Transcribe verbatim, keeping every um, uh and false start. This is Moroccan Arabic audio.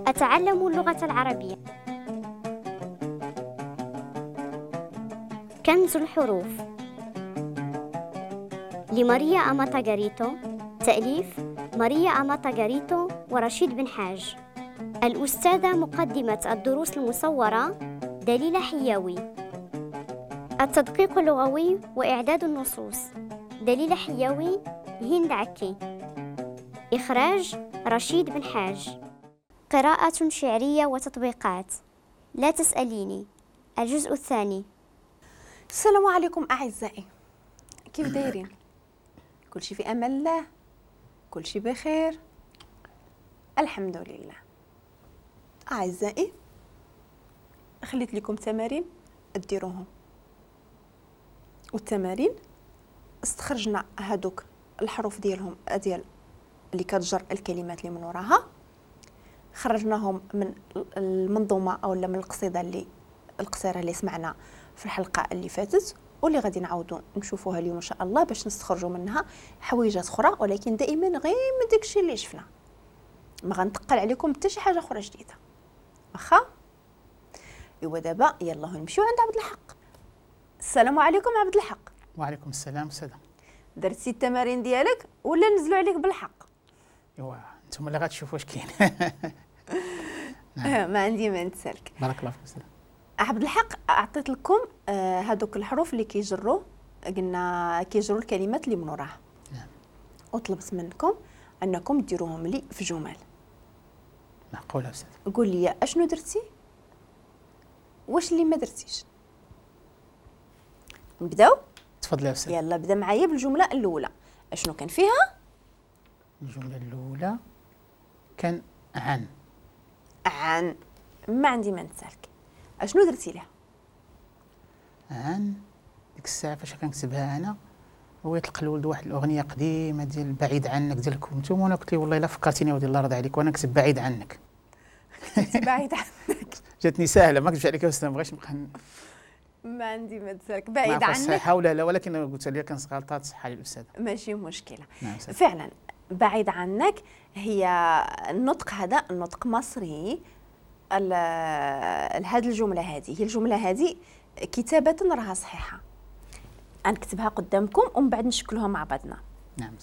أتعلم اللغة العربية. كنز الحروف لماريا أماتا غاريتو، تأليف ماريا أماتا غاريتو ورشيد بن حاج. الأستاذة مقدمة الدروس المصورة دليلة حياوي. التدقيق اللغوي وإعداد النصوص دليلة حياوي، هند عكي. إخراج رشيد بن حاج. قراءة شعرية وتطبيقات لا تسأليني، الجزء الثاني. السلام عليكم أعزائي، كيف دايرين؟ كل شيء في أمان الله، كل شيء بخير، الحمد لله. أعزائي، خليت لكم تمارين ديروهم، والتمارين استخرجنا هادوك الحروف ديالهم ديال اللي كتجر الكلمات اللي من وراها، خرجناهم من المنظومة او من القصيدة اللي القصيرة اللي سمعنا في الحلقة اللي فاتت، واللي غادي نعاودوا نشوفوها اليوم ان شاء الله باش نستخرجوا منها حويجات اخرى، ولكن دائما غير من داكشي اللي شفنا، ما غنتقل عليكم حتى شي حاجة اخرى جديدة. واخا؟ ايوا دابا يلاه نمشيو عند عبد الحق. السلام عليكم عبد الحق. وعليكم السلام سلام. درتي التمارين ديالك ولا نزلوا عليك بالحق؟ ايوا انتم اللي غتشوفوا واش كاين. نعم. ما عندي ما نتسالك. بارك الله فيك. عبد الحق، اعطيت لكم آه هذوك الحروف اللي كيجروا، قلنا كيجروا الكلمات اللي من وراها. نعم. وطلبت منكم انكم ديروهم لي في جمل. معقولة استاذ؟ قول لي اشنو درتي واش اللي ما درتيش. نبداو؟ تفضلي يا استاذ. يلا بدا معايا بالجملة الاولى، اشنو كان فيها؟ الجملة الاولى كان عن. عن، ما عندي ما نتسالك. اشنو درتي لها؟ عن ديك الساعة فاش كنكتبها انا، هو يطلق الولد واحد الاغنية قديمة ديال بعيد عنك ديال كنتم، وانا قلت له والله الا فكرتيني ودي الله يرضي عليك، وانا نكتب بعيد عنك. بعيد عنك جاتني ساهله، ما كنتش عليك يا استاذ، ما بغيتش نبقى ما عندي ما تسالك. بعيد عنك صحيحه ولا لا، ولكن قلت لها كان غلطات صحة للاستاذه، ماشي مشكلة. نعم. فعلا بعيد عنك هي النطق، هذا النطق مصري. هذه الجملة هذه هي الجملة هذه كتابه راها صحيحه، غنكتبها قدامكم ومن بعد نشكلوها مع بعضنا. نعم.